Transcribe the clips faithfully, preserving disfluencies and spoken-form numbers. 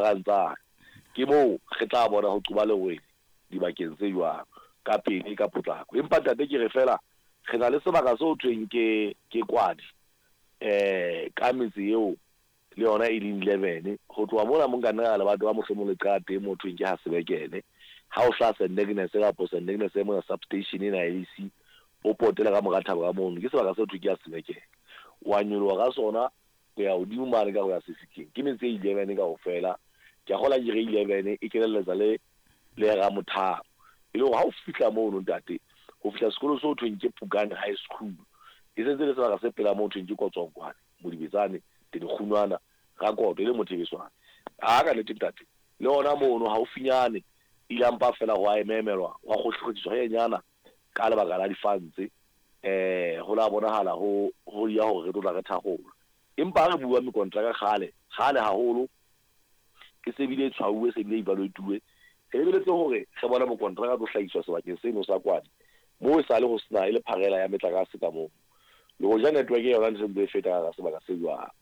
Rantsane ke moo re tla bona ho qoba lerwele dibakeng tse jwalo ka pele ka potlako. Empa ntate ke re fela re na le sebaka seo thweng ke ke Kwadi eh ka metse eo le yona e leng eleven ho tloha mona mo nka nna le batho ba mohlomong le qala teng mo thweng ke ha Sebekene ha o hlaha Saint Agnes kapo Saint Agnes mona substation ena ya A C o potela ka mora thaba ka mono ke sebaka seo thweng ke ha Sebekene wa nyoloha ka sona ho ya hodimo mane ka ho ya Sefikeng ke metse e eleven kaofela. Ke a kgola ke re eleven e kenelletsa le le Ramothabo e le hore ha o fihla mono ntate ho fihla sekolo seo thweng ke Pukane High School e sentse le sebaka se pela moo thweng ke Kotsongwane Modibetsane Tedikgunwana Rakoto e le Mothebeswane a ka nnete ntate le ona mono haufinyane ile a mpa fela ho a ememelwa wa kgohlekgothiswa yenyana ka lebaka la difantse eh ho la bonahala ho ho ya hore re tlo tla re thakgola empa ha re bua mekontraka kgale kgale haholo e se bile e tshwauwe se bile e evaluate-uwe re lebeletse hore re bona mokontraka tlo hlahiswa sebakeng seno sa Kwadi moo e sale ho sena e le pharela ya metlakase ka moo le hoja network yona ntse ntse e feta ka sebaka se jwalo.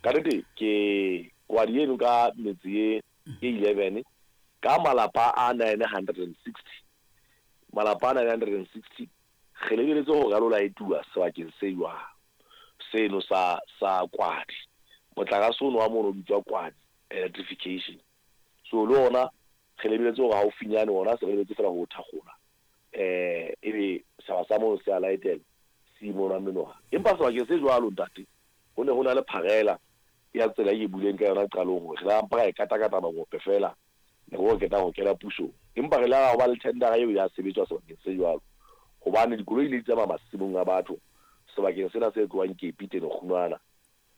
Ka nnete ke Kwadi eno ka metse e e eleven ka malapa a nine hundred and sixty malapa a nine hundred and sixty re lebeletse hore a lo laetuwa sebakeng se jwalo seno sa sa Kwadi. Motlakase ono wa mono o bitswa Kwadi electrification. So le ona re lebeletse hore haufinyane ona se re lebeletse fela ho thakgola eh ebe setjhaba sa mono se a laetela se imonwa menoha. Empa sebakeng se jwalo ntate ho ne ho na le pharela ya tsela e ke buileng ka yona qalong hore re la mpa ra e katakata mangope fela ne ho keta ho kena pusong empa re la ho ba le tendera eo ya sebetswa sebakeng se jwalo hobane dikoloi di tsamaya masimong a batho sebakeng sena se tlohang Kepi Tenokgunwana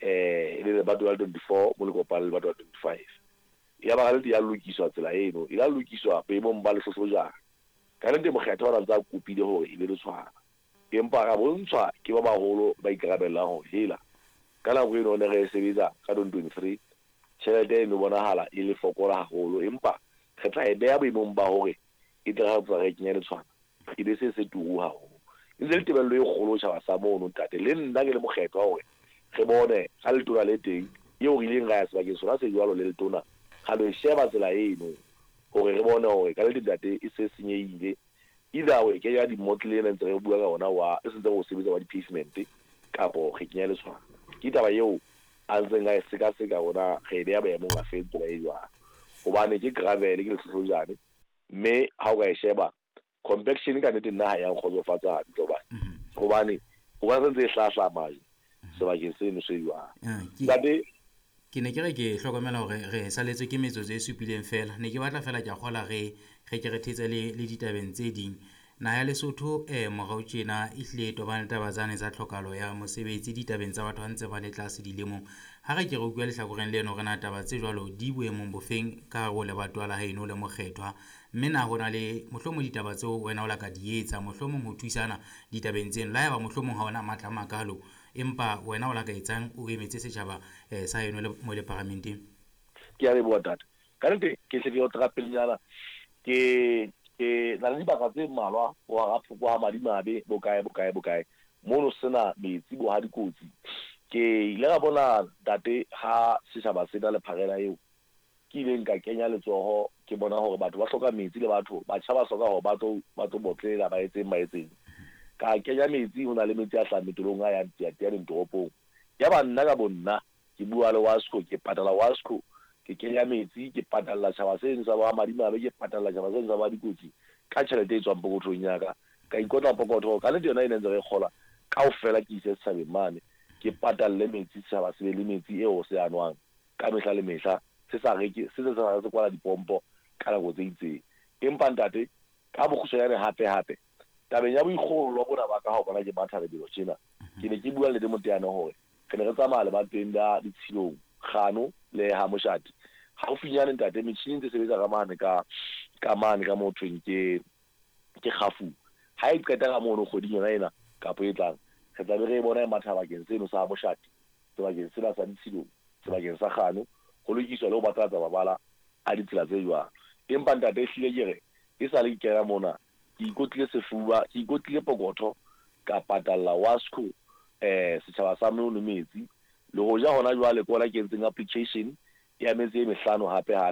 eh e le lebato la twenty-four mo le kopang le lebato la twenty-five ya ba le ya lokiswa tsela eno e la lokiswa boemong ba lehlohlojana ka nnete mokgetho wa ntse a kopile hore e be le tshwana empa ra bontshwa ke ba baholo ba ikarabellang hore hela ka nako eno ne re sebetsa ka twenty twenty-three tjhelete eno bonahala e le fokola haholo empa re tla e beha boemong ba hore e tla re re kenya letshwana e be se se turu haholo e ntse le tebello e kgolo tjhaba sa mono ntate le nna ke le mokgetho wa hore re bone ga letona le teng eo re ileng ra ya sebakeng sona se jwalo le letona ga lo e sheba tsela eno hore re bone hore ka le ntate e se senyehile either o e kenya di-motlele ena ntse re bua ka ona wa e sentse go sebetsa wa di-pavement kapo re kenya letshwana ke taba eo a ntseng a e sekaseka rona re e beha boemong a feng tsela e jwang hobane ke gravel ke lehlohlojane mme ha o ka e sheba compaction ka nnete nna ha ya nkgotsofatsa hantle hobane hobane o ka sentse e hlahla majwe sebakeng seno se jwang. Ntate ke ne ke re ke hlokomela hore re saletswe ke metsotso e supileng fela ne ke batla fela ke a kgola re re ke re thetse le le ditabeng tse ding. Naha ya Lesotho eh morao tjena e hlile e tobane le taba tsane tsa tlhokahalo ya mosebetsi ditabeng tsa batho ba ntse ba le tlase dilemong. Ha re ke re utlwa lehlakoreng leno hore na taba tse jwalo di boemong bofeng ka hare ho lebatowa la haeno le mokgethwa mme na ho na le mohlomong ditaba tseo wena o la ka di etsa mohlomong ho thusana ditabeng tseno la eba mohlomong ha ona matla a makalo empa wena o la ka etsang o emetse setjhaba eh sa heno le mo le paramenteng. Ke a leboha ntate. Ka nnete ke hle ke o tla pelenyana ke ke na le dibaka tse mmalwa ho hara ha Madimabe bokae bokae bokae mono sena metsi bo ha dikotsi ke ile ka bona ntate ha setjhaba se na le pharela eo ke ileng ka kenya letsoho ke bona hore batho ba hloka metsi le batho batjha ba hloka hore ba tlo ba tlo botlela ba etseng ba etseng ka kenya metsi ho na le metsi a hlahang metolong a yang teateaneng toropong ya ba nna ka bonna ke bua le Wasco ke patala Wasco ke kenya metsi ke patalla tjhaba seno sa ba Madimabe ke patalla tjhaba seno sa ba dikotsi ka tjhelete e tswang pokothong ya ka ka ikotla pokotho ka nnete yona e ne ntse re kgola kaofela ke ise setjhabeng mane ke patalle metsi setjhaba se be le metsi eo se a nwang ka mehla le mehla se sa reke se se sa se kwala dipompo ka nako tse itseng. Empa ntate ka bokgutshwanyane hape hape tabeng ya boikgolo bona ba ka ha o bona ke matha lebelo tjena ke ne ke bua le Moteane hore re ne re tsamaya lebatoweng la Ditshilong Kgano le ha Moshati haufinyane ntate metjhini e ntse sebetsa ka mane ka ka mane ka mo thweng ke ke kgafu ha e qeta ka mono kgweding yona ena kapo e tlang re tla be re e bona e matha bakeng seno sa Moshati sebakeng sena sa Ditshilong sebakeng sa Kgano ho lokiswa le ho batlatsa mabala a ditsela tse jwang. Empa ntate ehlile ke re e sa le ke kena mona ke ikotlile sefuba ke ikotlile pokotho ka patalla Wasco eh setjhaba sa mono metsi le hoja hona jwale ke ona ke entseng application Ya metse e mehlano hape hape.